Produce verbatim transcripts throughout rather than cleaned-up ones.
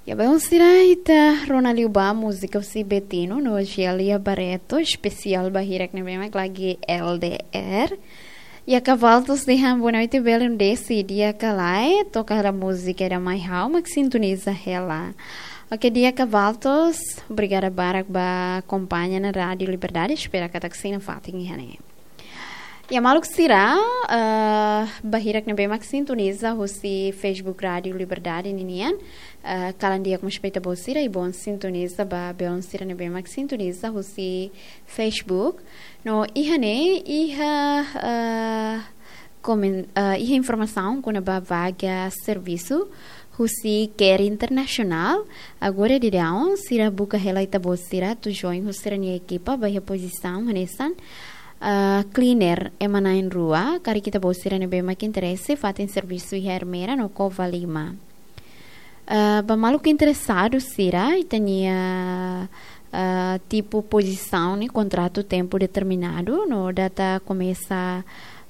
Ya, belun sira, ita rona liu ba múzika husi Betinho no Gélia Barreto, espesiál ba hirak ne'ebé mak lagi L D R. Ya, Kavaltos dehan boa noite, belun Desi, di'ak ka lae, toka hela múzika ida mai ha'u mak sintoniza hela. Oke, di'ak Kavaltos, obrigada barak ba akompaña ona Rádiu Liberdade, espera katak sei nafatin iha ne'e. Ya, maluk sira, eh, ba hirak ne'ebé mak sintoniza husi Facebook Rádiu Liberdade ninian, eh, kalan di'ak mós ba ita-boot sira, i bom sintoniza ba belun sira ne'ebé mak sintoniza husi Facebook. No iha ne'e, iha, eh, komen-, eh, iha informasaun kona-ba vaga servisu husi Care International. Agora daudaun, sira buka hela ita-boot sira atu join husi sira-nia ekipa ba iha pozisaun hanesan, ah, cleaner ema na'in rua, karik ita-boot sira ne'ebé mak interese, fatin servisu iha Ermera no Covalima. Ah, ba maluk interesadu sira, ita-nia, ah, tipu pozisaun ne'e kontratu tempu determinadu, no data komesa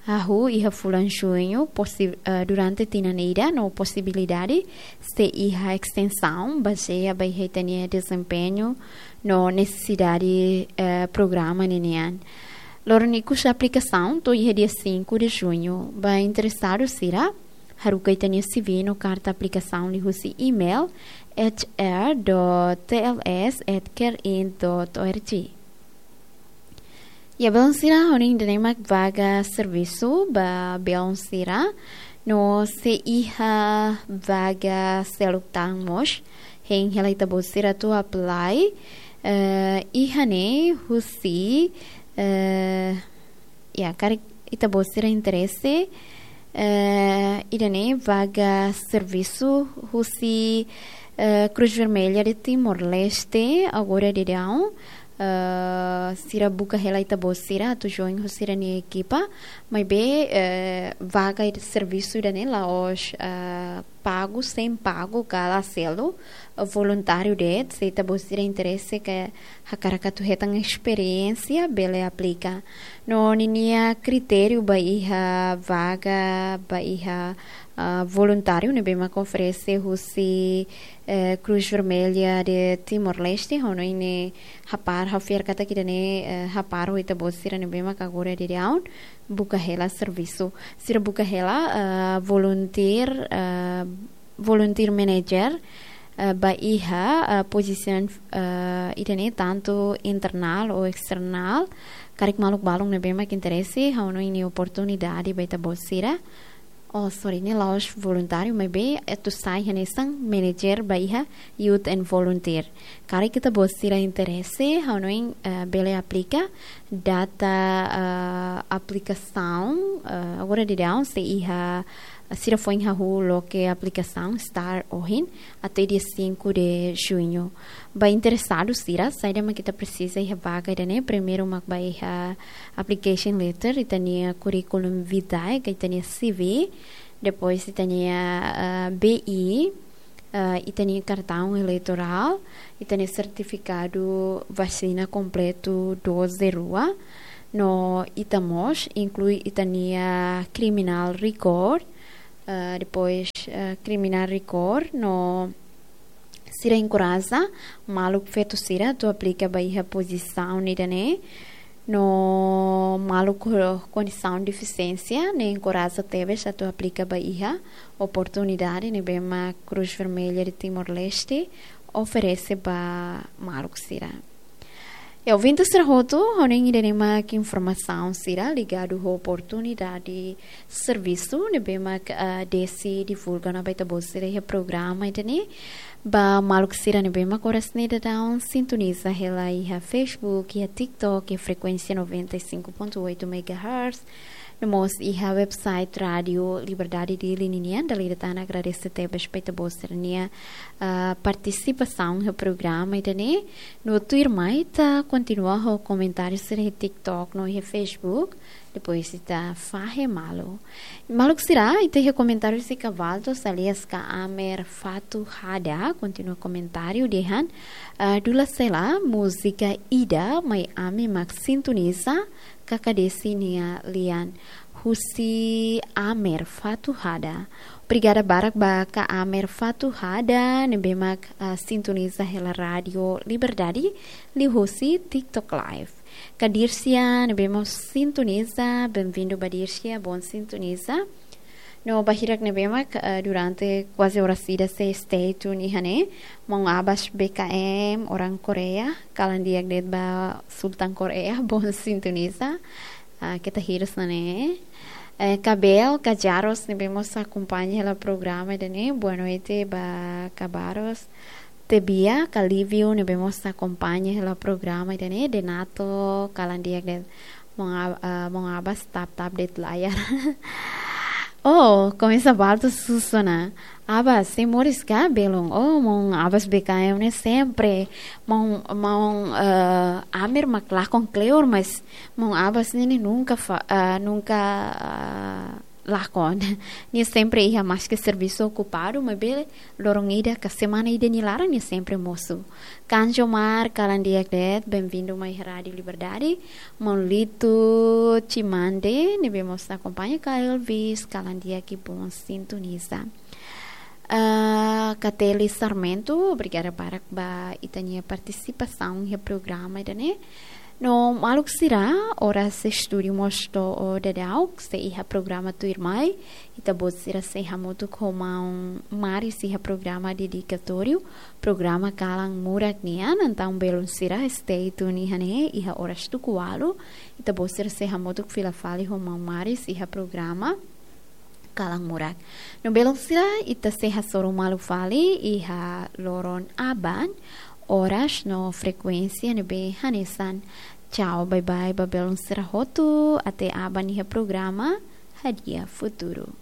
hahú iha fulan Juñu, posi-, eh, durante tinan ida no posibilidade sei iha estensaun, bazeia ba iha ita-nia dezempeñu no nesesidade, eh, programa ninian. Loron ikus aplikasaun to'o iha dia cinco de Junho. Ba interesadu sira, haruka ita-nia C V no karta aplikasaun liuhusi email H R dot T L S at carein dot org. Ya, belun sira, ha'u hanoin ida-ne'e mak vaga servisu ba belun sira. No sei iha vaga seluk tan mós. Hein hela ita-boot sira atu apply. Eh, iha ne'e husi, eh, ya, karik ita-boot sira interese, eh, ida-ne'e vaga servisu husi, eh, Cruz Vermelha de Timor-Leste, agora daudaun, eh, sira buka hela ita-boot sira atu join husi sira-nia ekipa, maibé, eh, vaga ida servisu ida-ne'e la'ós, eh, pagu, sein pagu, ka la selu, eh, voluntáriu de'it, se ita-boot sira interese ka hakarak atu hetan esperiénsia, bele aplika. No ninia kritériu ba iha vaga, ba iha, ah, voluntáriu ne'ebé mak oferese husi, eh, Cruz Vermelha de Timor-Leste, ha'u hanoin ne'e hapar, ha'u fiar katak ida-ne'e, eh, hapar ho ita-boot sira ne'ebé mak agora daudaun buka hela servisu. Sira buka hela, eh, volunteer, eh, volunteer manager, eh, ba iha, eh, pozisaun, eh, ida-ne'e tantu internál ou esternál. Karik maluk balun ne'ebé mak interese, ha'u hanoin ne'e oportunidade ba ita-boot sira. Oh, sorry, ne'e la'ós voluntáriu, maibé atu sai hanesan manager ba iha Youth and Volunteer. Karik ita-boot sira interese, ha'u hanoin, eh, bele aplika, data, eh, aplikasaun, eh, agora daudaun sei iha, sira foin hahú loke aplikasaun start ohin até dia cinco de Junho. Ba interesadu sira, saida mak ita presiza iha vaga ida-ne'e, primeiru mak ba iha application letter, ita-nia curriculum vitae, ka ita-nia C V, depois ita-nia, eh, B I, eh, ita-nia kartaun eleitorál, ita-nia sertifikadu vasina kompletu doze rua, no ita mós inklui ita-nia criminal record, eh, depois, eh, criminal record, no sira enkoraja maluk feto sira atu aplika ba iha pozisaun ida-ne'e. No maluk ho kondisaun defisiénsia ne'e enkoraja tebes atu aplika ba iha oportunidade ne'ebé mak Cruz Vermelha de Timor-Leste oferese ba maluk sira. Ya, ouvinte sira hotu, ha'u hanoin ida-ne'e mak informasaun sira ligadu ho oportunidade servisu ne'ebé mak, ah, Desi divulga ona ba ita-boot sira iha programa ida-ne'e. Ba maluk sira ne'ebé mak oras ne'e daudaun sintoniza hela iha Facebook, iha TikTok, iha frekuénsia noventa e cinco ponto oito megahertz, no mós iha website Rádiu Liberdade Dili ninian, dala ida tan agradese tebes ba ita-boot sira-nia, ah, partisipasaun iha programa ida-ne'e. No tuirmai ita kontinua ho komentáriu sira iha TikTok no iha Facebook. Depois ita fahe malu. Maluk sira, ita iha komentáriu husi Kavaltos alias Ka Amer Fatuhada, kontinua komentáriu dehan, ah, Dula Sela, múzika ida mai ami mak sintoniza, Kaka Desi nia lian, husi Amer Fatuhada. Obrigada barak ba Ka Amer Fatuhada, ne'ebé mak, ah, sintoniza hela Rádio Liberdade, liuhusi TikTok Live. Ka Dircia, ne'ebé mós sintoniza, bem-vindo ba Dircia, bom sintoniza. No ba hirak ne'ebé mak, ah, durante kuaze oras ida sei stay tune iha ne'e, maun Abas B K M, orang Korea, kalan di'ak de'it ba Sultan Korea, bom sintoniza. Ah, keta hirus ona ne'e. Eh, Ka Bel, Ka Jaros, ne'ebé mós akompaña hela programa ida-ne'e. Boa noite ba Ka Baros. Tebia, Ka Livio, ne'ebé mós akompaña hela programa ida-ne'e. Denato, kalan di'ak de'it. Maun Ab-, ah, maun Abas tap-tap de'it layar. Oh, komesa baltu susuna. Abas, sei moris ka belun? Oh, maun Abas B K M ne'e sempre. Maun, maun, eh, Amer mak lakon kleur, mas maun Abas ne'e, ne'e nunka fa-, eh, nunka, eh, lakon. Nia sempre iha maske servisu okupadu, maibé loron ida ka semana ida nia laran nia sempre mosu. Kanjo Mar, kalan di'ak de'it, bem-vindo mai Rádio Liberdade. Maun Lito Chimande, ne'ebé mós akompaña Ka Elvis, kalan di'ak i bom sintoniza. Ah, Kateli Sarmento, obrigada barak ba ita-nia partisipasaun iha programa ida-ne'e. No maluk sira, oras estúdiu mós to'o daudaun, sei iha programa tuirmai, ita-boot sira sei hamutuk ho maun Maris iha programa dedikatóriu, programa Kalan Murak nian, entaun belun sira stay tune iha ne'e, iha oras tuku ualu, ita-boot sira sei hamutuk fila fali ho maun Maris iha programa Kalan Murak. No belun sira, ita sei hasoru malu fali iha loron aban, oras no frekuénsia ne'ebé hanesan. Tchau, bye bye ba belun sira hotu, até aban iha programa Hadi'a Futuru.